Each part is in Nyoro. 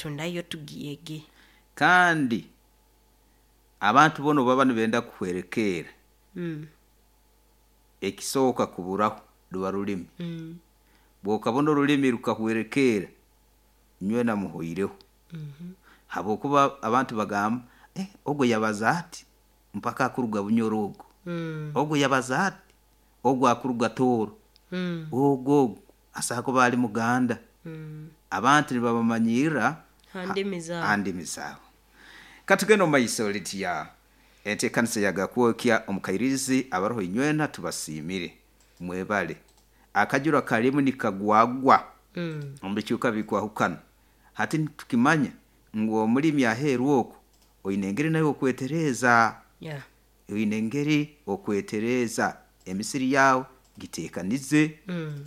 Yaitu nayo tugyege. Kandi abantu boona obu baba nibenda kuhwerekerra, ekisooka kuburaho ruba rulimi. Bwokabona orulimi rukahwerekerra, nywena muhoireho, habwokuba abantu bagamba, eh, ogu yabaza ati mpaka akuruga Bunyoro ogu, ogu yabaza ati ogu akuruga Tooro, ogu ogu asobola kuba ali Muganda. Abantu nibabamanyirra Ha ndimi zaabo. Ha ndimi zaabo. Katugende omu maiso Lydia, enteekaniza ya Gakwokya omu Kairizi abaroho inywena tubasiimire, mwebale. Akajura kalimu nikagwagwa omu bicweka bikwahukana. Hati nitukimanya ngu omulimi aheeru oku oine engeri nawe okwetereeza, oine engeri okwetereeza emisiri yaawe giteekanize,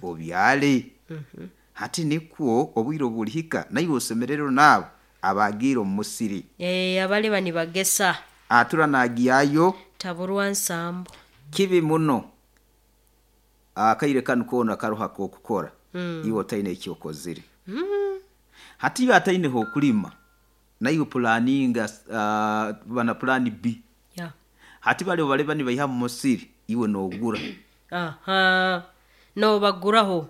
obyale. Hati nikwo obwire obu bulihika naiwe osemererwe n'abo abaagiire omu musiri. Abaliba nibagesa. Atura naagyayo. Taburwa nsambu. Kibi muno akaire kanu koona karoho ak'okukora iwe otaine eki okozire. Hati iwe ataine h'okulima, naiwe pulaaninga ba na pulaani B. Hati bali obu baliba nibaiha mu musiri, iwe noogura. Aha, noobaguraho.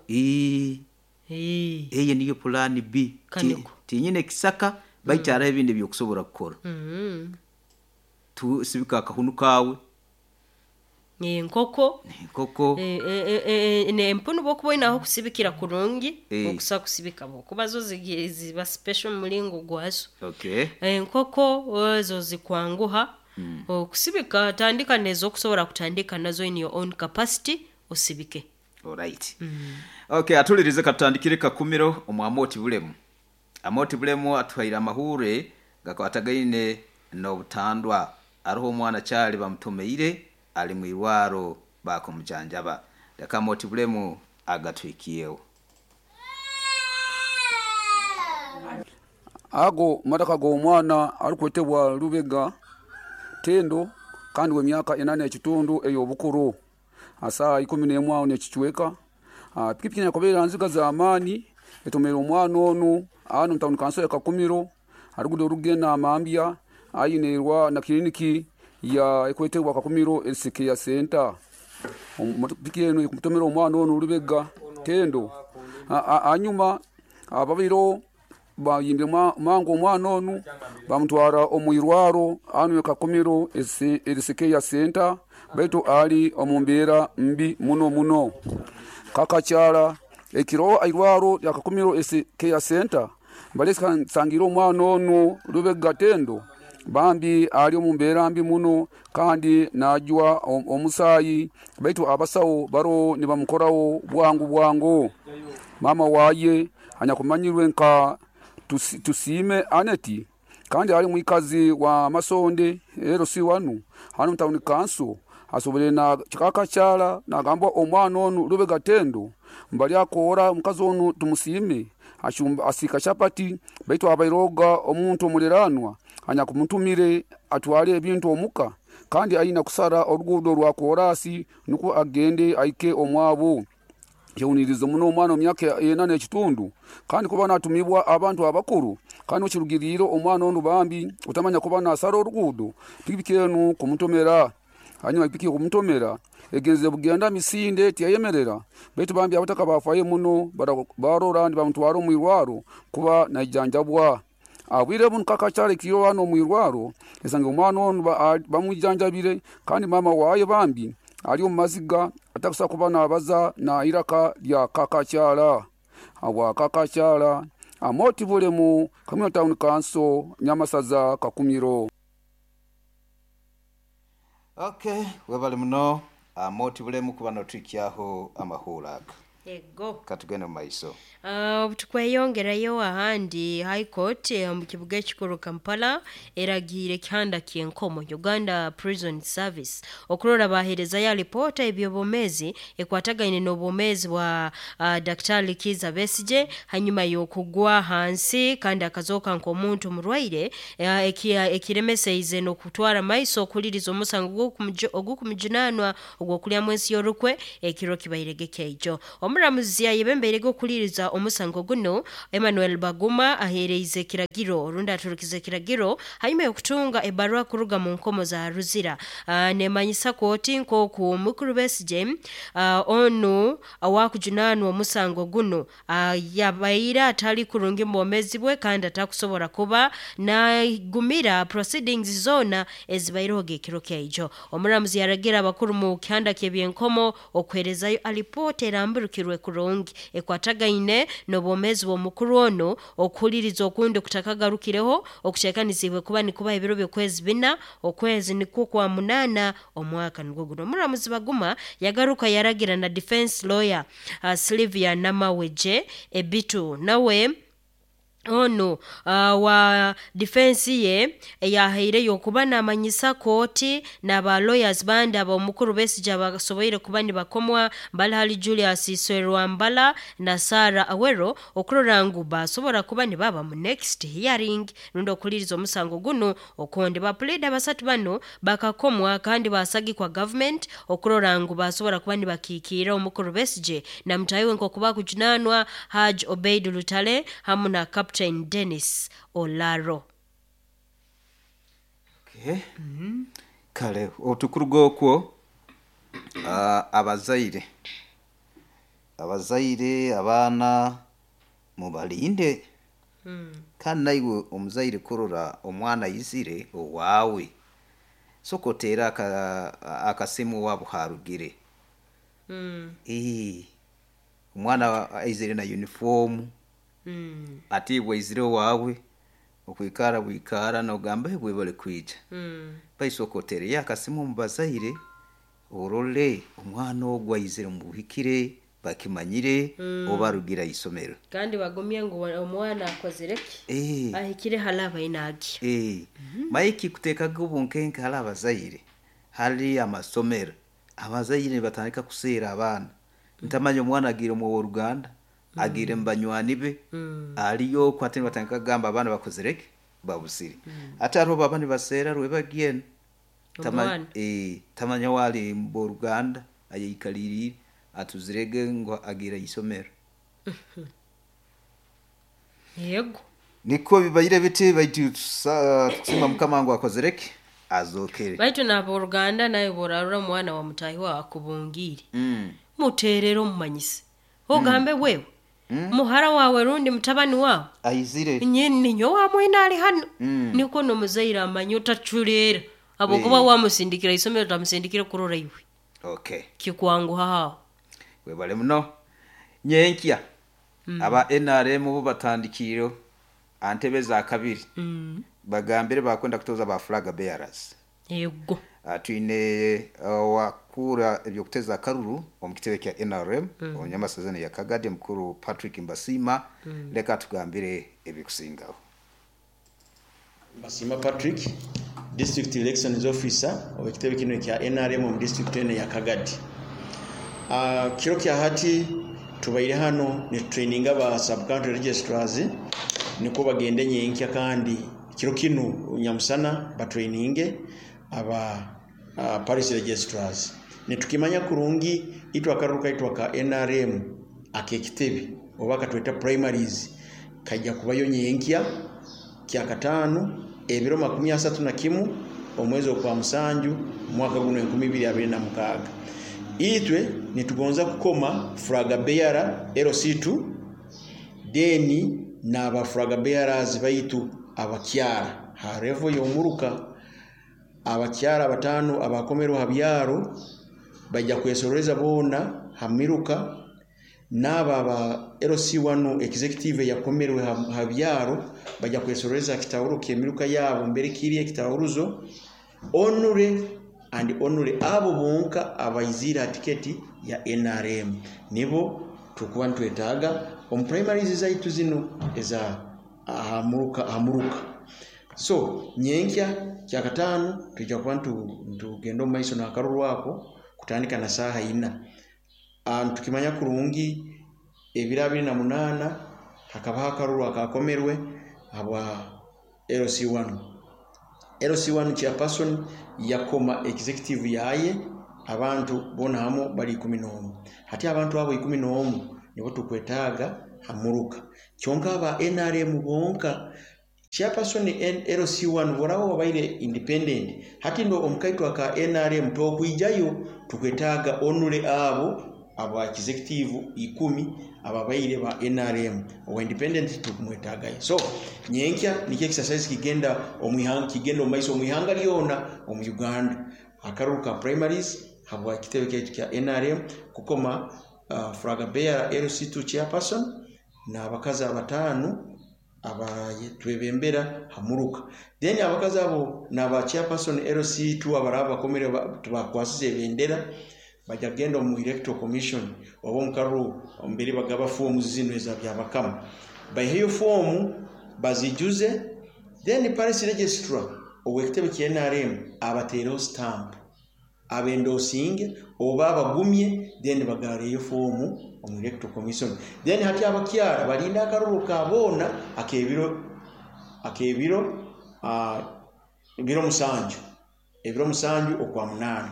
Eyo niyo pulaani B. Kaniko. Tinyine kisaka baitu haroho ebindi ebi okusobora kukora. Sibika akahunu kaawe. Enkoko. Enkoko. Empunu obu okuba oine ah'okusibikira kurungi, okusa kusibika habwokuba zo ziba special omu muringo gwazo. Enkoko ezo zikwanguha okusibika, tandika n'ezokusobora kutandika nazo in your own capacity osibike. Alright. Okay, atulirize katutandikire Kakumiro omu Amooti Bulemu. Amooti Bulemu atuhaire amahuure gakwatagaine n'obutandwa. Aroho omwana Charlie bamutomeire ali mu irwaro baakumujanjaba. Leka Amooti Bulemu agatuhikyeho. Ago maraka g'omwana arikwetebwa Lubega Tendo kandi w'emyaka ena n'ekitundu ey'obukuru. Aha saaha ikumi n'emwe aho n'ekicweka, pikipiki enyakubaire aha nziga z'amaani etomeire omwana onu hanu omu tawuni kanso ya Kakumiro aha ruguudo orukugenda Amambya haihi na kiliniki erikwetebwa Kakumiro Care Center. Piki enu ekutomera omwana onu Lubega Tendo. Hanyuma ababaireho Bayimbire mangu omwana onu bamutwara omu irwaro hanu e Kakumiro Health Center baitu ali omu mbeera mbi muno muno. Kakakyara ekiro airwaro lya Kakumiro Health Center balesangire omwana onu Lubega Tendo bambi ali omu mbeera mbi muno kandi najwa omusaayi baitu abasaho baroho nibamukoraho bwangu bwangu. Maama waye anyakumanyirwe nka Tusiime Annet kandi ali mwikazi wa Masonde LC1 hanu omu tawuni kanso asobire na kakakyara nagamba omwana onu Lubega Tendo mbali akoora omukazi onu Tumusiime asiika chapati baitu abairoga omuntu omuliranwa anyakumutumire atwale ebintu omuka kandi aine kusara oruguudo rwa koorasi nukwo agende ahike omwabo. Kyehuniirize muno omwana w'emyaka ena n'ekitundu kandi kuba natumibwa abantu abakuru kandi okirugiriire omwana onu bambi otamanya kuba nasara oruguudo pikipiki enu kumutomera. Hanyuma pikipiki kumutomera egenzere bugenda misinde tiyayemerera baitu bambi abataka bafayo muno barora nibamutwara omu irwaro kuba naijanjabwa. Obwire bunu kakakyara ekiro hanu omu irwaro esangire omwana onu bamwijanjabire kandi maama waye bambi ali omu maziga atakusobora kuba nabaza na iraka lya kakakyara. Habwa kakakyara Amooti Bulemu Kamwina Town Council Nyamasaza Kakumiro. Ok webale muno Amooti Bulemu kuba notuhikyaho amahuuro aga. Ego. Katugende omu maiso. Obu tukweyongerayo ahandi, High Court omu kibuga ekikuru Kampala eragiire ekihanda ky'enkomo Uganda Prison Service okurora baheerezayo alipoota y'eby'obwomeezi ekwatagaine n'obwomeezi bwa Daktari Kiiza Besigye hanyuma y'okugwa hansi kandi akazooka nk'omuntu murwaire ekiremeseize n'okutwara maiso okuhuliriza omusango ogukumujunaanwa ogw'okulyamu ensi y'orukwe ekiro kibairege kyaijo. Omuramuzi ayebembeirege okuhuliriza okuhuliriza omusango guno Emmanuel Baguma aheereize ekiragiro rundi aturukize ekiragiro hanyuma y'okutunga ebbaruha kuruga mu nkomo za Ruzira. Nemanyisa kooti nk'oku mukuru Besigye onu awakujunaanwa omusango guno yabaire atali kurungi mu bwomeezi bwe kandi atakusobora kuba nagumira proceedings zoona ezibaireho ekiro kyaijo. Omuramuzi yaragira abakuru mu kihanda ky'ebyenkomo okuheerezayo alipoota eramburukirwe kurungi ekwatagaine n'obwomeezi bw'omukuru ono okuhuliriza okundi kutakagarukireho okuteekanizibwe kuba nikuba ebiro by'okwezi 4 okwezi nikwo kwa 8 omwaka nigwo guno. Omuramuzi Baguma yagaruka yaragira na defense lawyer Sylvia Namaweje Ebitu nawe ono wa defense ye eyahaireyo okuba namanyisa kooti n'aba lawyers bandi ab'omukuru Besigye abasoboire kuba nibakomwa bali hali Julius Serwambala na Sarah Awero okurora ngu basobora kuba nibaba mu next hearing rundi okuhuliriza omusango guno okundi. Bapulida basatu bano bakakomwa kandi basagikwa government okurora ngu basobora kuba nibakiikirra omukuru Besigye na mutahi we nk'oku bakujunaanwa Haj Obeid Lutale hamu na Captain Dennis Olaro. Okay. Kale otukuruga okwo abazaire abaana mubalinde. Kandi naiwe omuzaire kurora omwana ayizire owaawe soka oteere akasimu owaabo harugire. Omwana aizire na uniform ati bwaizire owaawe okwikara bwikara nogamba bwebale kwija. Baisoka oteereyo akasimu omu bazaire orole omwana ogu aizire mubuhikire bakimanyire oba arugire aisomero. Kandi bagumye ngu omwana akozire ki? Ahikire hali abaine. Maiki kuteekaga obunkenke hali abazaire hali amasomero. Abazaire nibatandika kuseera abaana. Ntamanya omwana agiire omu ow'oruganda agiire mu banywani be aliyo okwo ate nibatandika kugamba abaana bakozire ki? Babuzire. Ate hariho baba nibaseera rwebagye tamanya waali mu b'oruganda ayeikaliriire atuzirege ngu agiire aisomero. Yego. Niko bibaire biti baitu tukusima Mukama ngu akozire ki? Azokere. Baitu n'aboruganda nawe borarora omwana wa mutahi wawe akubungiire. Muteerere omumanyise. Ogambe wewe muhara wawe rundi mutabani wawe aizire ninyo wamwina ali hano. Niko n'omuzaire amanye otaculeera habwokuba wamusindikira isomero tamusindikire kurora iwe. Okay. Kikwanguha aho. Webale muno. Nyenkya aba NRM bo batandikiire antebe za kabiri. Bagambire bakwenda kutoza ba flag bearers. Yego. Twine wakura ebyokuteza akaruru omu kitebe kya NRM omunyamasazana ya Kagadi mukuru Patrick Mbasima. Leka tugambire ebikusingaho. Mbasima Patrick, District Elections Officer omu kitebe kino kya NRM omu district eno ya Kagadi. Kiro kya hati tubaire hano ni traininga ba sub county registrars niko bagende nyenkya kandi kiro kino nyamusana batraininge aba parish registrars. Nitukimanya kurungi itwa akaruka itwa ka NRM akekitebe oba katweta primaries kajja kubayo nyenkya kya katano ebiro 31 omwezi okwa musanju mwaka guno 2026. Itwe nitugonza kukoma flag bearer LC2 deni n'aba flag bearers baitu abakyara ha level y'omuruka abakyara batano abakomerwa ha byaro bajja kwesoreza bona hamiruka n'aba aba LC1 executive yakomerwe ha byaro bajja kwesoreza kitawuro ky'emiruka yabo mbere kiri ekitawuruzo onure and onure abo bonka abaizira tiketi ya NRM nibo tukuba ntwetaaga omu primaries zaitu zino eza hamuruka. So nyenkya kya katano tujja kuba ntugenda omu maiso n'akaruru ako kutandika na saaha 4. Tukimanya kurungi ebiro 28 hakabaho akaruru akakomerwe habwa LC1. LC1 chairperson yakoma executive yaye abantu bona hamu bali 11. Hati abantu abo 11 nibo tukwetaaga hamuruka kyonka aba NRM bonka chairperson LC1 boraba wabaire independent hati ndo omukaito aka NRM tokwijayo tukwetaaga onule abo aba executive 10 ababaire ba NRM owa independent tukumwetagayo. So nyenkya nikyo exercise kigenda omwihanga, kigenda omaiso omwihanga lyona omu Uganda akaruru ka primaries habwa kitebe kyaitu kya NRM kukoma flag bearer LC2 chairperson n'abakazi abatano abatwebembera hamuruka. Then abakazi abo n'aba chairperson LC2 abaraba bakomere tubakwasize ebendera bajja kugenda omu electoral commission oba omukaruru mbere bagaba fomu zino eza byabakama, baiheyo fomu bazijuze, then parish registrar ow'ekitebe kya NRM abateereho stamp abendosinge oba abagumye, then bagareyo fomu omu electoral commission. Then hati abakyara balinda akaruru ka boona akebiro ebiro 7 okwa 8.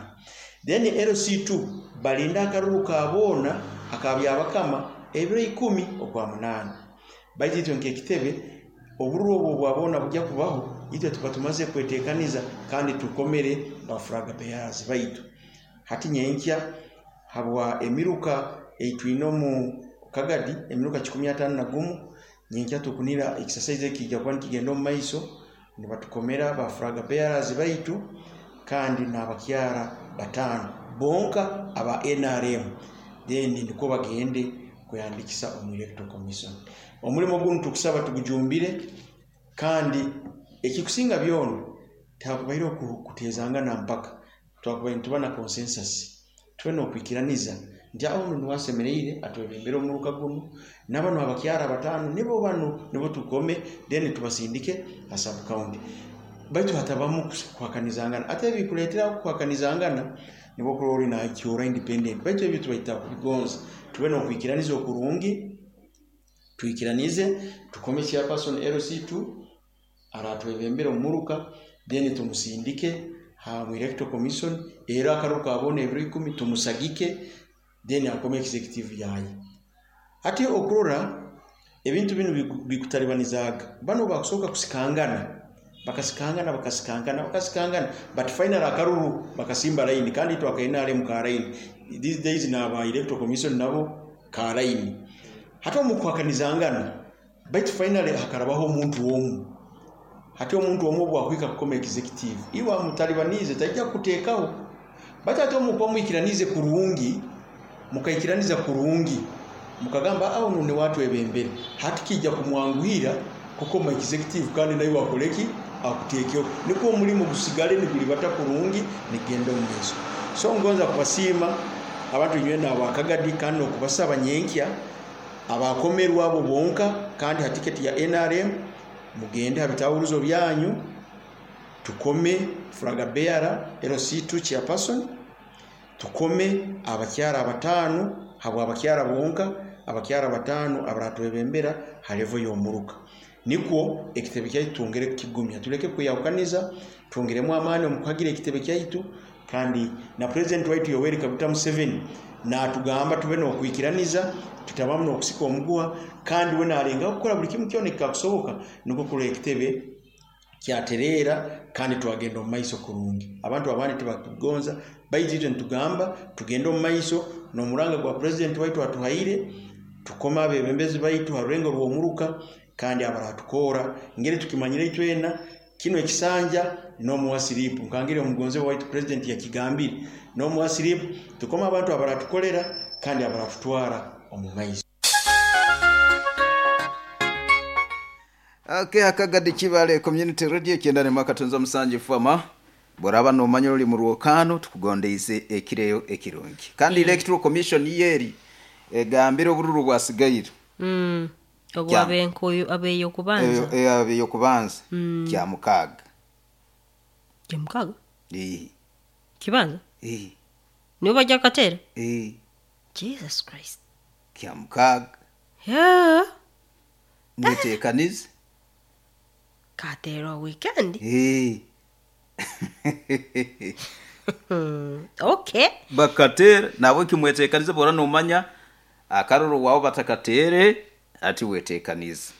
Then LC2 balinda akaruru ka boona akabyabakama ebiro 10 okwa 8. Baitu itwe nk'ekitebe obururu obwo bwabona bujya kubaho itwe tuba tumaze kwetekaniza kandi tukomere ba flag bearers baitu. Hati nyenkya habwa emiruka eitwine omu Kagadi emiruka 151 nyenkya tukunira exercise ekijja kuba nikigenda omu maiso nibatukomera ba flag bearers baitu kandi n'abakyara 5 bonka aba NRM, then niko bagende kweyandikisa omu electoral commission. Omulimo guno tukusaba tugujumbire kandi ekikusinga byona takubaire kutezangana mpaka twakubaire tuba na consensus tube n'okwikiraniza nti aho ono niwasemereire atwebembere omuruka guno n'abano abakyara 5 nibo bano nibo tukome, then tubasindike a sub county. Baitu hatabamu kuhakanizangana ate ebikuleetera kuhakanizangana nibo kurori na kyora independent. Baitu ebyo tubaita kubigonza tube n'okwikiraniza okurungi, twikiranize tukome chairperson LC2 aratwebembere omuruka, then tumusindike ha electoral commission era akaruka abone ebiro 10 tumusagike, then akome executive yaye. Hati okurora ebintu bino bikutalibanizaga bano bakusoka kusikangana bakasikangana but final akaruru bakasimba line kandi twaka NRM ka line these days na ba electoral commission nabo ka line hati omukuhakanizangana baitu finally hakarabaho omuntu omu. Hati omuntu omu bwakwika kukoma executive iwa mutalibanize tajja kuteekaho baitu ate omukuba mwikiranize kurungi mukaikiraniza kurungi mukagamba aho none watwebembere hati kijja kumwanguhira kukoma executive kandi nayo wakoleki akuteekeo niko omulimu gusigale nigulibata kurungi nigenda omumeso. So ngonza kubasiima abantu nywena abakagadi kandi okubasaba nyenkya abakomerwa abo bonka kandi ha tiketi ya NRM mugende habitawuruzo byanyu tukome flag bearer LC2 chairperson, tukome abakyara 5 habwa abakyara bonka abakyara 5 abaratwebembera halevo y'omuruka. Nikwo ekitebe kyaitu twongere kukigumya tuleke kuyawukaniza twongeremu amaani omukuhagira ekitebe kyaitu kandi na president waitu Yoweri Kaguta Museveni natugamba tube n'okwikiraniza tutabamu n'okusika omuguha kandi we nalenga kukora buli kimu kyona ekikakusoboka niko kula ekitebe kyatereera kandi twagenda omu maiso kurungi. Abantu abandi tibatugonza baitu itwe nitugamba tugende omu maiso n'omuranga gwa president waitu atuhaire tukoma abebembezi baitu ha rurengo rw'omuruka kandi abaratukora ngeri tukimanyire itwena kino ekisanja n'omuwasiripu nkangire omugonze waitu president yakigambire n'omuwasiripu tukoma abantu abaratukolera kandi abaratutwara omu maiso. Okay, Akagadi Kibale Community Radio kyenda mwaka tunza musanju fama boraba nomanya oli mu rwokano tukugondeize ekireyo ekirungi kandi electoral commission yeri egambire obururu bwasigaire obwabenkoyo abeyo kubanza abeyo kubanza kya mukaga kibanza nibo bajja katera Jesus Christ kya mukaga yeah mwetekanize katera weekend Okay bakatera nabo kimwetekanize bora nomanya akaruru wao batakatere Ati weteekanize.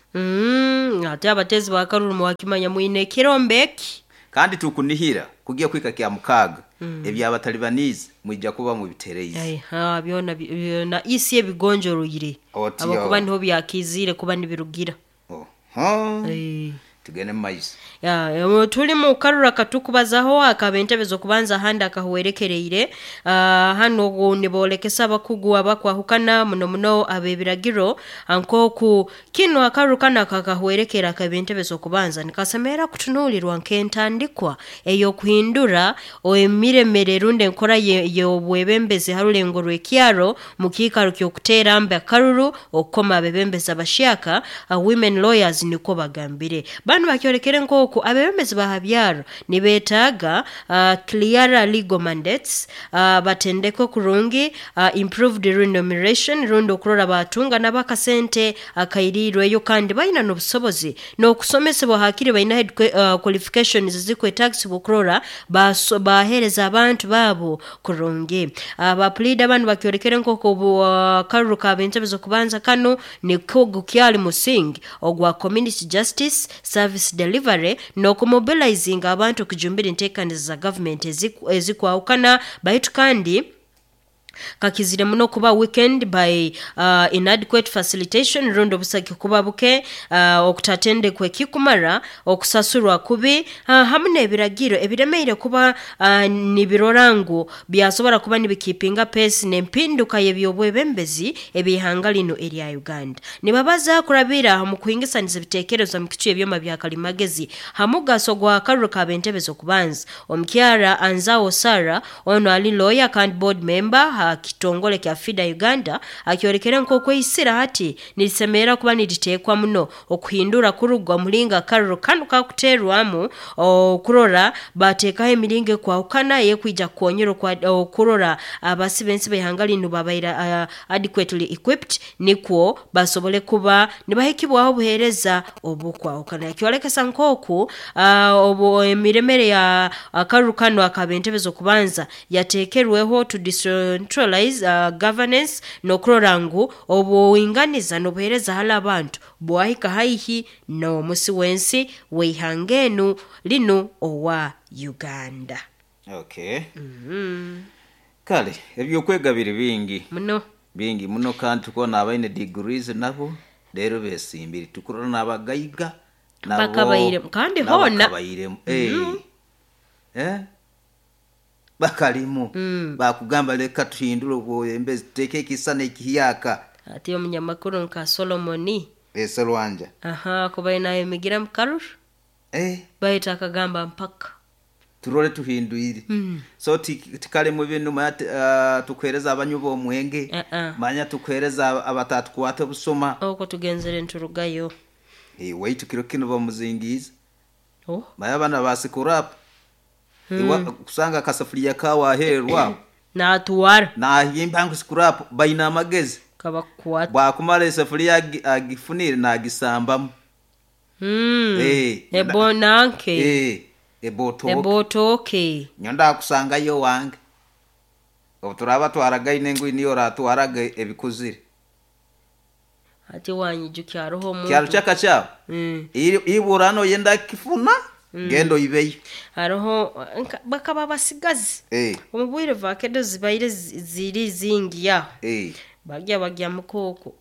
Ate abateezi ba karuru mwakimanya mwine ekirombe eki. Kandi tukunihira kugiya kwika kya mukaaga ebyabatalibanize mwija kuba mubitereize. Aiha, byona byona isi ebigonjoroire. Otyo. Abakuba niho byakiziire kuba nibirugira. Oho. Eh. Tugende mu maiso. Ya, tuli mu karura katukubazaho akaba entebe z'okubanza ahandi akahwerekereire. Hano ogu niboolekesa abakugu abakwahukana muno muno ab'ebiragiro nk'oku kino akaruru kano akakahwerekera akaba entebe z'okubanza nikasemerera kutunuulirwa nk'entandikwa ey'okuhindura emiremere rundi enkora y'obwebembezi ha rulengo rw'ekyaro mu kiikaro ky'okuteera mbe akaruru okukoma abebembezi abashyaka. Women lawyers nikwo bagambire banu bakyolekere nk'oku abebembezi ba byaro nibeetaaga clearer legal mandates, batendekwe kurungi, improved remuneration rundi okurora batunga n'abakasente akairiirweyo kandi baina n'obusobozi n'okusomesebwa hakiri baina qualifications zikwetagisibwa okurora baheereza abantu baabo kurungi. Abapuliida banu bakyolekere nk'oku akaruru ka b'entebe z'okubanza kano niko gukyali musingi ogwa community justice service delivery n'okumobilizinga abantu okujumbira enteekaniza za gavumenti ezikwahukana baitu kandi kakizire muno kuba weekend by inadequate facilitation rundi obusaki kuba buke, okutatendekwa ekikumara, okusasurwa kubi, hamu n'ebiragiro ebiremeire kuba nibirora ngu byasobora kuba nibikipinga pace n'empinduka y'ebyobwebembezi eby'ihanga lino erya Uganda. Nibabaza kurabira mu kuhingisaniza ebiteekerezo mu kicu ebyoma bya kalimagezi ha mugaso gwa karuru ka b'entebe z'okubanza. Omukyara Anzao Sarah ono ali lawyer kandi board member ha kitongole kya FIDA Uganda akyolekere nk'okweisira hati nirisemerera kuba niriteekwa muno okuhindura kurugwa mulinga akaruru kanu kakuteerwamu okurora bateekaho emiringo ekwahukana ey'ekwija kukonyera okurora abasi b'ensi b'ihanga linu babaire adequately equipped nikwo basobole kuba nibahikibwaho obuheereza obukwahukana. Kyolekesa nk'oku obu emiremere ya akaruru kanu ak'ab'entebe z'okubanza yateekerweho to decentralize governance n'okurora ngu obuinganiza n'obuheereza hali abantu bwahika haihi n'omusi w'ensi w'eihanga enu linu owa Uganda. Okay. Kale ebyokwega biri bingi muno bingi muno kandi tukubona abaine degrees nabo rero besimbire tukurora n'abagaiga nabo Bakabairemu. Kandi nabo hoona. bakabairemu. Bakalimu bakugamba leka tuhindure obwebembezi tuteeke ekisana ekihyaka. Ati omunyamakuru nka Solomoni Eserwanja aha kuba nayemigira mu karuru baitu akagamba mpaka turole tuhindwire. So tikalemu binu manya tukuhereza abanywi b'omwenge, manya tukuhereza abatatukwata obusuma. Okwo tugenzere nturugayo. Waitu kiro kino bamuzingiize. Oh. Manya abana basikurapu iwa kusanga akasafuriya kawaherwa natuwara nahimba ngu sikurapu baina amagezi kabakukwata bwakumara esafuriya agifunire nagisambamu. Ebo nanke Ebotoke ebotoke nyo ndakusangayo wange obu turaba twaragaine ngu niyo oratwaraga ebikuzire. Ati wanyijukya hariho omuntu Kyaro kyaka kyabo ibura noyenda kifuna genda oibeyo. Hariho bakaba basigazi omu bwire vakedo zibaire ziri zingi aho. Bagya bagya mukooko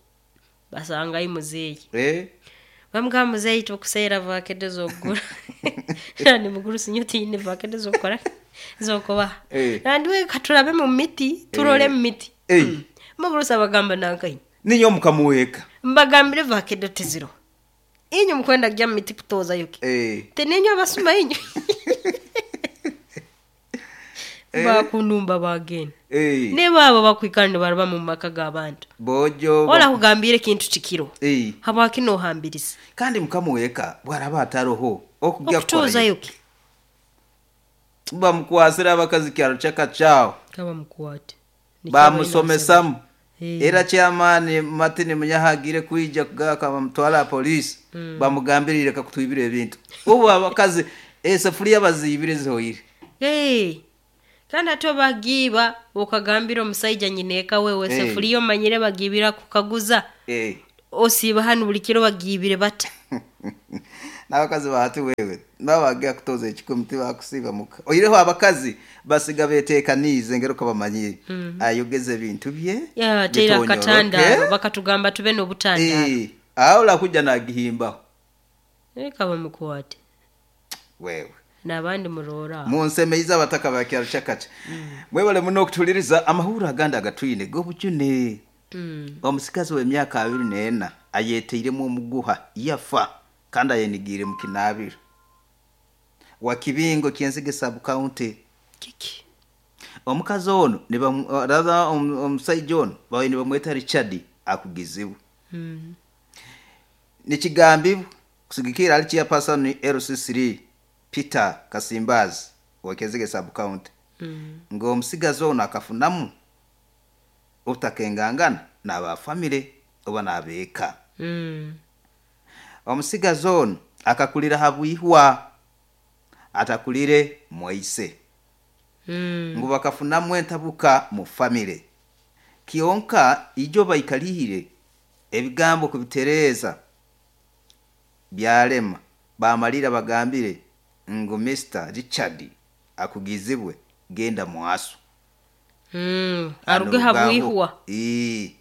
basangayo muzeeyi. Bamugamba muzeeyi tukuseera vakedo z'okugura nandi muguru sinyo tiine vakedo z'okukora z'okubaha. Nandi we katurabe mu miti turole mu miti. Mugurusi abagamba nankaini Ninyo mukamuweka mbagambire vakedo teziro inyu mukwenda kujya mu miti kutozayo ki teninyo abasuma inyu bakunumba bagenda niba abo bakwikana nibaraba mu maka g'abantu bojo ola kugambire ekintu kikiro habwaki nohambiriza. Kandi mukamuweka bwaraba ataroho okujya okutozayo ki bamukwasira abakazi kyaro kyaka kyawo kaba mukwate bamusomesamu. Era kyamaani Martin Munyahagire kwija kugaka bamutwala polisi bamugambirire kakutwibira ebintu ubu abakazi esafuriya bazibire zihoire. Kandi ate bagiiba okagambira omusaija nyineeka wewe sefuriya omanyire bagiibira kukaguza. Osiiba hanu buli kiro bagiibire bata. N'abakazi bahati wewe nabagea kutoza ekikumi tibakusiiba muka oireho abakazi basiga beteekaniize ngero kabamanyire ayogeza ebintu bye Ya, teera bitonyoroke. akatandaalo bakatugamba tube n'obutandaalo. Eh, aho olakuja nagihimbaho Leka bamukwate wewe n'abandi muroora aho. munsemeize abataka ba kyaro kyakaca mwebale muno okutuliriza amahuro agandi agatwine g'obujune. Omusikazi w'emyaka 24 ayeteiremu omuguha yafa kandi ayenigiire mu kinaabiro wa kibingo kyenzige sub county. Kiki? Omukazi ono rather omusaija ono bawe nibamweta Richard akugizibwe. Nikigambibwa kusigikira ali chairperson LC3 Peter Kasimbazi wa Kenzige sub county ng'omusigazi ono akafunamu obutakengangana n'aba famire oba n'abeeka. Omusigazi ono akakulira habwihwa atakulire mwaise. Ngu bakafunamu entabuka mu famire kyonka ijo baikalihire ebigambo kubitereeza byalema bamalira bagambire ngu Mr Richard akugizibwe genda mwasu. Aruge habwihwa. Ii.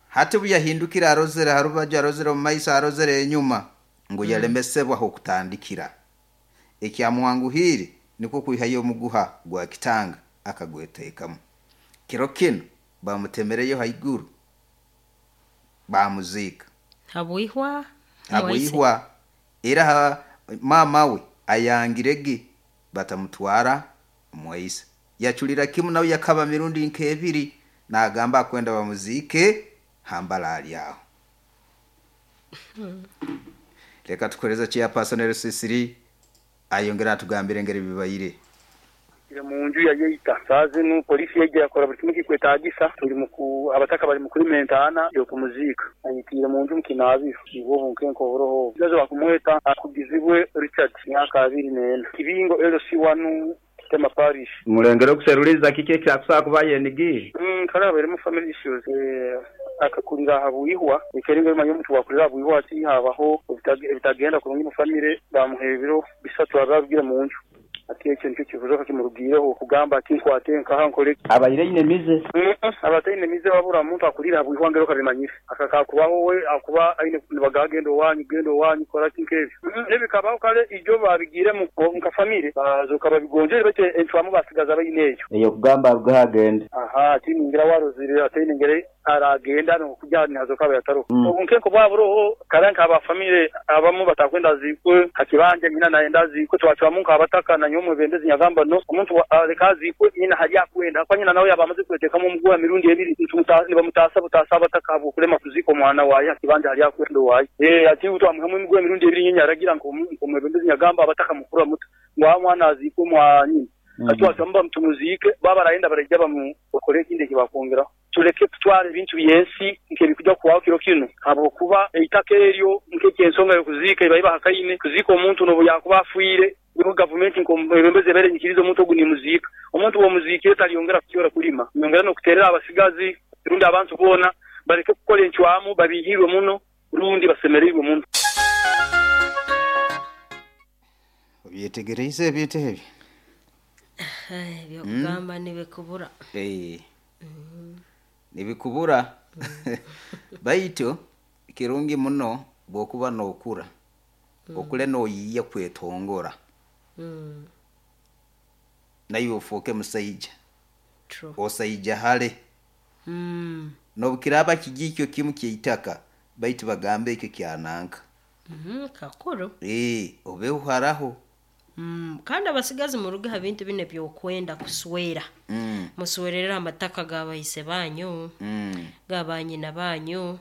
Hati buyahindukira arozere harubaju arozere omu maiso arozere enyuma ngu yalemesebwa okutandikira ekyamuwanguhiire nikwo kwihayo omuguha gwa kitanga akagweteekamu kiro kino bamutemereyo haiguru bamuziika. Habwihwa. Habwihwa era mama we ayangirege batamutwara mwaisa yaculira kimu nawe yakaba mirundi nk'ebiri nagamba akwenda bamuziike hambala aho. Reka tukoreza chairperson LC3 ayongera atugambire ngeri bibayire. Ire mu nju ya yeita saa zinu polisi yaija yakora buli kimu kikwetagisa tuli muku abataka bali mukulima entaana y'okumuzika ayitiire mu nju mukinaabiro nibwo bunkenke oburoho obugazi bakumweta akugizibwe Richard myaka 24 kibingo LC1 Kitema Parish. Mulengere okuseruliza kiki ekyakusobola kuba yenigire. Kale abairemu family issues akakulira habwihwa ekeringa emanya omuntu wakulira habwihwa ati habaho ebitagenda kurungi mu family bamuha ebiro 3 ababigire mu nju ati ekyo nikyo kibuzo kimurugireho kugamba ati nkwate nkaha nkore. Abaire ine mize. Abataine mize wabura muntu akulira habwihwa ngero kabimanyire akakakubaho we akuba aine nibagagenda owanyu genda owanyu kora kinkebyo nebikabaho kale ijo babigire mu nka family bazoka babigonjere bate entwamu basigaza bayine eyo eyo kugamba agenda. Aha ati ningira warozire ati ningere aragenda no kujya nazoka bayataro obunkenko bwaburoho karanka aba family abamu batakwenda zikwe hakibanje nyina naenda zikwe twacwamu nka abataka na nyomwe bendezi nyagamba no omuntu aleka zikwe nyina hali akwenda kwa nyina nawe yabamaze kwetekamo omuguwa mirundi ebiri nibamutasa butasa abataka abo kulema kuzika omwana waye hakibanje hali akwenda waye ati utwamuhamu emiguwa mirundi ebiri nyina aragira nko omwebendezi nyagamba abataka mukuru muto ngwa mwana azikwe mwa nyina atwacwamu bamutumuzike baba barayenda barajya bamukore ikindi kibakongera tuleke tutware ebintu byensi nkebikujja kuwaho kiro kino habwokuba eitaka eryo nk'ekyensonga y'okuzika iba ibahakaine kuzika omuntu nobu yakuba afiire niho gavumenti nkombembeze ebere nyikiriza omuntu ogu nimuzika omuntu womuzikire taliyongera kukyora kulima nyongera n'okuterera abasigazi rundi abantu boona bareke kukora encwamu babihirwe muno rundi basemereirwe muno. Obyetegereize ebintu ebyo? Byokugamba nibikubura. Nibikubura. Baitu kirungi muno bwokuba nokura okule noyiya kwetongora naye ofuuke musaija osaija hale. Nobukiraba kijikyo kimu kyeitaka baitu bagambe ekyo kyananka. Kakuru. Obe uharaho. Kandi abasigazi muruge ha bintu bine byokwenda kuswera. Muswerera amataka gabayise banyu gabanyina banyu.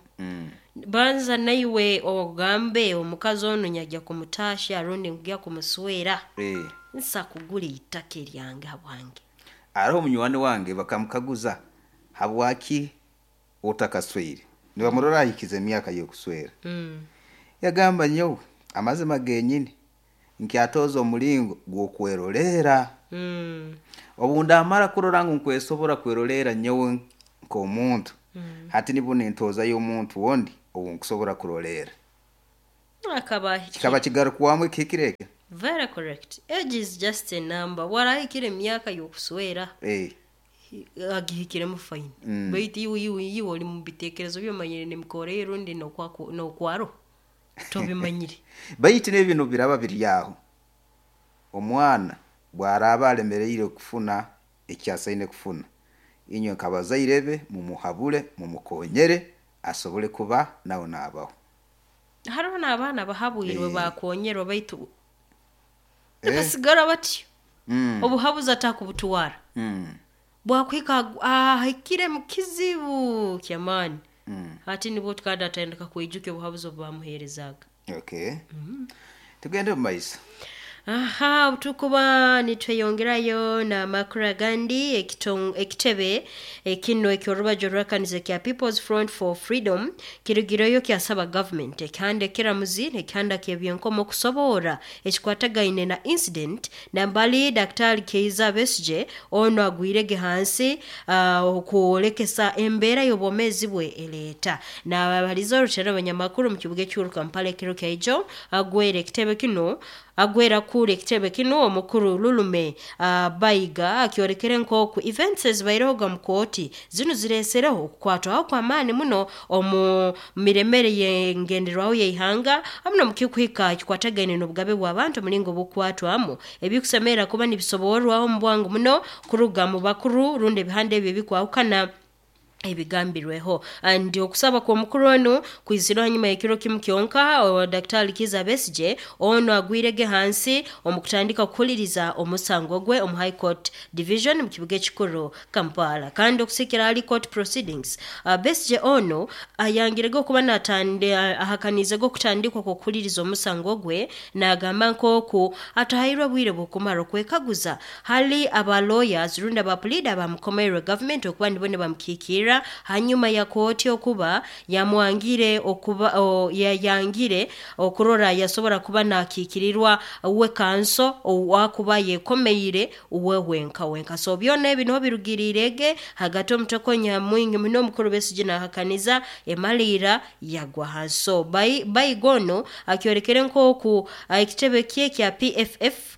Banza naiwe ogambe omukazi ono nyajja kumutasha arundi ngya kumuswera. Nsa kugula itaka eryange habwange. Ariho munywani wange bakamukaguza habwaki otakaswere nibamurora ahikize emyaka y'okuswera. Yagamba nyowe amazima genyini nkyatoza omulingo gw'okwerolera. Obu ndamara kurora ngu nkwesobora kwerolera nyowe nk'omuntu hati nibwo nintozayo omuntu wondi Obu nkusobora kurolera. Akaba Kikaba kigarukwamu ekihikire ekyo. Very correct. Age is just a number. Warahikire emyaka y'okuswera, agihikiremu fine. Baitu iwe oli mu bitekerezo byomanyire nemikoro rundi nokwaro tobimanyire. Baitu n'ebintu biraba biri aho, omwana bwaraaba alemereire kufuna ekyasaine kufuna, inywe nk'abazaire be mumuhabule, mumukonyere asobole kuba nawe naabaho. Hariho n'abaana bahabwirwe, bakonyerwa, baitu basigara batyo. Obuhabuzi atakubutwara, bwakuhika ahikire mu kizibu kyamaani, hati nibwo kandi atandika kwijuka obuhabuzi obu bamuheerezaga. Okay, tugende mu maiso. Aha tukuba nitweyongerayo n'amakuru agandi, ekitebe ekino eky'orubaju rw'ekanisa kya People's Front for Freedom kirugireyo kyasaba government ekihanda ekiramuzi n'ekihanda ky'ebyenkomo okusoboora ekikwatagaine na incident nambali Daktari Keiza Besigye ono agwirege hansi, okwolekesa embeera y'obwomeezi bwe ereeta. Nabaliza orutera abanyamakuru mu kibuga ekikuru Kampala ekiro kyaijo, agwera ekitebe kino, agwera kura ekitebe kino omukuru Lulume Bayiga akyolekere nk'oku events ezibairehoga mu kooti zinu zireesereho okukwatwaho kw'amaani muno omu miremere y'engenderwaho y'ihanga, hamu n'omukikuhika kikwatagaine n'obugabe bw'abantu omulingo bukwatwamu, ebikusemerra kuba nibisoborwaho omu bwangu muno kuruga mu bakuru rundi ebihanda ebyo ebikwahukana ebigambirweho. And okusaba kw'omukuru onu kwizirwe hanyuma y'ekiro kimu kyonka Daktari Kiza Besigye ono agwirege hansi omu kutandika kuhuliriza omusango gwe omu High Court Division mu kibuga ekikuru Kampala. Kandi okusikira hali court proceedings, Besigye ono ayangirege okuba natande ahakanizege okutandikwa kw'okuhuliriza omusango gwe, n'agamba nk'oku atahairwe bwire bw'okumara okwekaguza hali aba lawyers rundi aba pleader abamukomerwe government okuba nibo nibamukiikirra, hanyuma ya kooti okuba yamwangire okuba yayangire okurora yasobora kuba nakiikirirwa we kanso owakuba yekomeire uwe wenka wenka. So byona ebi niho birugiriirege hagati omutokonya mwingi muno, omukuru Besigye nahakaniza emaliira yagwa hansi. So Bayiga ono akyolekere nk'oku ekitebe kye kya PFF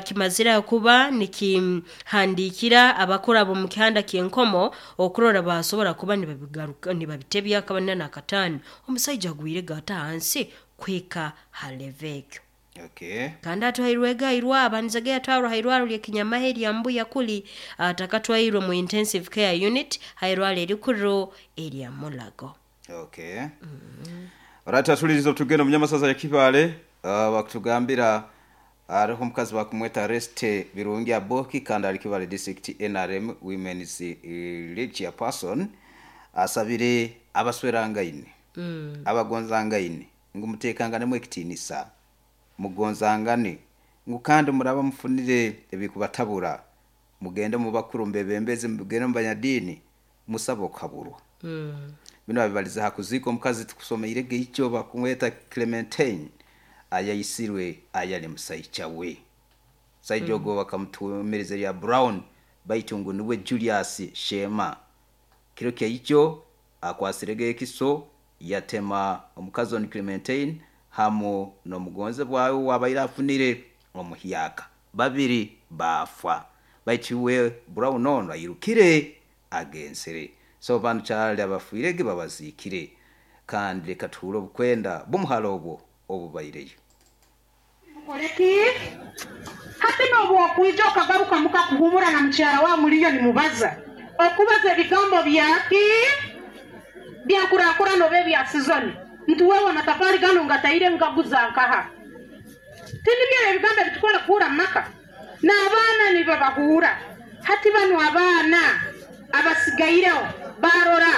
kimazire kuba nikihandiikira abakuru abo mu kihanda ky'enkomo okurora basobora kuba nibabigaruka nibabitebya akabana n'akataano omusaija agwire gata hansi kuhika ha level ekyo. Kandi atwairwege hairwa abanizege yatwarwa hairwaro ly'ekinyamahe erya Mbuya kuli atakatwairwe mu intensive care unit hairwaro erikuru erya Mulago. Okay. Alright, atuliriza tugenda munyamasaza ya Kibaale, bakutugambira hariho omukazi bakumweta Reste Birungi Aboki, kandi ali Kibaale District NRM Women's League Chairperson, asabire abaswerangaine, abagonzangaine ngu muteekanganemu ekitiinisa, mugonzangane, ngu kandi muraba mufunire ebikubatabura, mugende mu bakuru mbebembezi, mugende mu banyadiini musabe okuhaburwa. Bino babibaliza ha kuziika omukazi tukusomeirege ikyo bakumweta Clementine ayaisirwe ayali musaija we. Musaija ogwo bakamutumiriza erya Brown, baitu ngu niwe Julius Shema. Kiro kyaikyo akwasirege ekiso yatema omukazi onu Clementine hamu n'omugonzebwa we wabaire afunire omuhyaka, babiri baafa, baitu we Brown ono airukire agenzere. So bantu kyali abafiirege babaziikire, kandi leka tuhure obukwenda bw'omuhara obwo obubaireyo. Mukoleki hati n'obwokwija okagaruka muka kuhumura na mukyara wa muliyo nimubaza okubaza ebigambo byaki byankurakurana oba ebya sizoni nti wewe amatafari gano ngataire ngaguza nkaha tinibyo ebigambo ebitukora kuhura mumaka n'abaana nibabahuura. Hati banu abaana abasigaireho barora.